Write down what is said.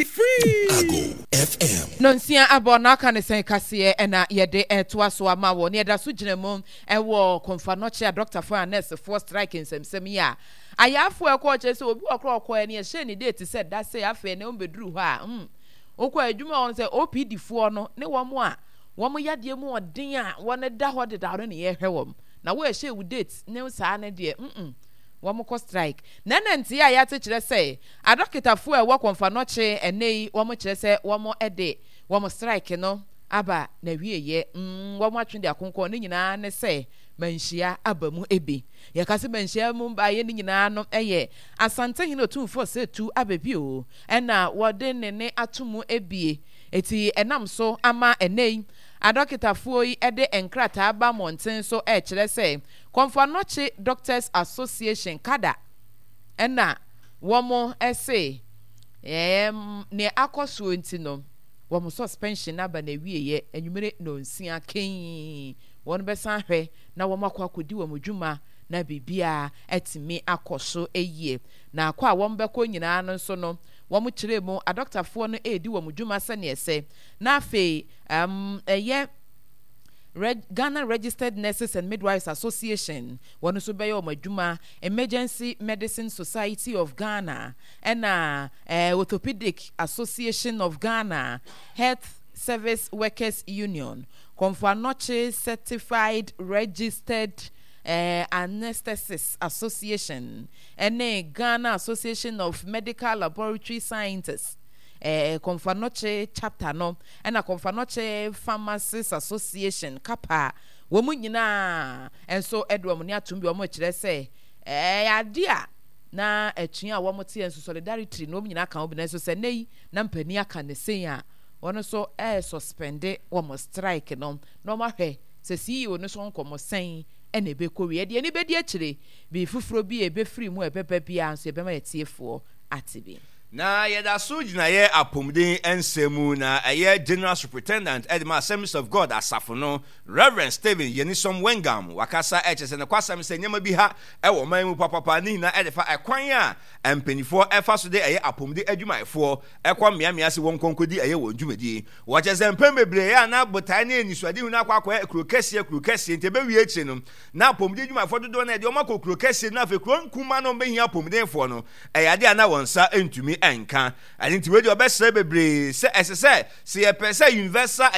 Free! FM. Nonsia abɔ na aka ne sɛn kaseɛ ɛna yɛde ɛtoa so ama wɔ ne yɛda so gyina mu ɛwɔ Komfo Anokye adɔktafoɔ a nɛɛsefoɔ strike nsɛmsɛm yi a ayaafoɔ ɛkɔɔ kyerɛ sɛ obi wɔ korɔ ɔkɔɛ ne yɛhyɛɛ ne date sɛ da sɛ afei ne ɔmbɛduru hɔ a mm wokɔ adwuma wɔn sɛ OPD foɔ no ne wɔn a wɔn yadeɛ mu ɔden a wɔn da hɔ dedaw no ne yɛhwɛ wɔn na wo ɛhyɛ wo date ne saa ne deɛ mm wɔn kɔ strike na ɛna nteɛ a yɛate kyerɛ sɛ Adɔkotafoɔ a ɛwɔ Kɔmfanɔkye ɛnnɛ yi wɔn kyerɛ sɛ wɔn de wɔn strike no aba n'awieɛ. Mm, wɔn atwe de akonkɔn ne nyinaa ne sɛ manhyia aba mu bi. Yɛka sɛ manhyia mu baeɛ ne nyinaa no ɛyɛ Asantehene Otumfoɔ Setu Ababio ɛna wɔde ne ne ato mu ebie. Eti ɛnam so ama ɛnnɛ yi adɔkotafoɔ yi de nkrataa ba mmɔnten so ɛrekyerɛ sɛ Kɔmfanɔkye Doctors Association, kada, ɛna wɔn se ɛɛm nea akɔ soɔ nti no wɔn suspension no aba n'awieɛ anwummere nnɔnsia kɛnn wɔn bɛsan ahwɛ na wɔn akɔ akɔdi wɔn dwuma na biribiara atumi akɔ so yie. Na akɔ a wɔn bɛkɔ nyinaa no nso no wɔn kyerɛ mu adɔktafoɔ no redi wɔn dwuma sɛdeɛ ɛsɛ na afei ɛɛm ɛyɛ Reg Ghana Registered Nurses and Midwives Association wɔn nso bɛyɛ wɔn adwuma Emergency Medicine Society of Ghana, ɛna eh, Orthopedic Association of Ghana, Health Service Workers Union, Komfo Anokye Certified Registered eh, Anesthetists Association, ɛne Ghana Association of Medical Laboratory Scientists, eh, Komfo Anokye chapter no, ɛna Komfo Anokye Pharmacists Association, KAPA, Wɔn nyinaa nso de wɔn nne atom bi, wɔkyerɛ sɛ ɛyɛ ade a na atua a wɔteɛ nso solidarity no wɔn nyinaa ka ho bi. Nanso sɛ nnɛ yi na mpanin aka ne sei a, wɔn nso ɛresuspende wɔn strike no na wɔahwɛ sɛ CEO no so nkɔmmɔ sɛn na ɛbɛkɔ wie. Yɛde ani bɛdi akyire, biribi foforɔ bi a ɛbɛfiri mu a ɛbɛba biara nso yɛbɛma yɛatiefoɔ ate bi. Na yɛda so gyina yɛ apɔmuden nsɛm mu na ɛyɛ General Superintendent de ma Assemblies of God asafo no, Rev. Stephen Yenisom Wengam, wakasa ɛkyerɛ sɛ nokwasɛm sɛ nneɛma bi ha ɛwɔ ɔman mu papapa ne nyinaa ɛde fa ɛkwan a mpaninfoɔ ɛfa so de ɛyɛ apɔmuden adwumayɛfoɔ ɛkɔ mmeammea sɛ wɔn nkɔ nkɔdi ɛyɛ wɔn dwumadie. Wɔkyerɛ sɛ mpɛn bebree ɛyɛ a na botae ne anisoadehunu no akɔ akɔyɛ kuro kɛseɛ kuro kɛseɛ nti ɛbɛwie akyire no na apɔmuden adwumayɛfoɔ dodoɔ no ɛde wɔn akɔ kuro kɛseɛ no afei kuro nkumaa no wɔbɛhia apɔmudenfoɔ no ɛyɛ adeɛ a na wɔn nsa ntumi nka. Ɛno nti wei deɛ ɔbɛsrɛ bebree sɛ ɛsɛ sɛ sɛ yɛpɛ sɛ universal.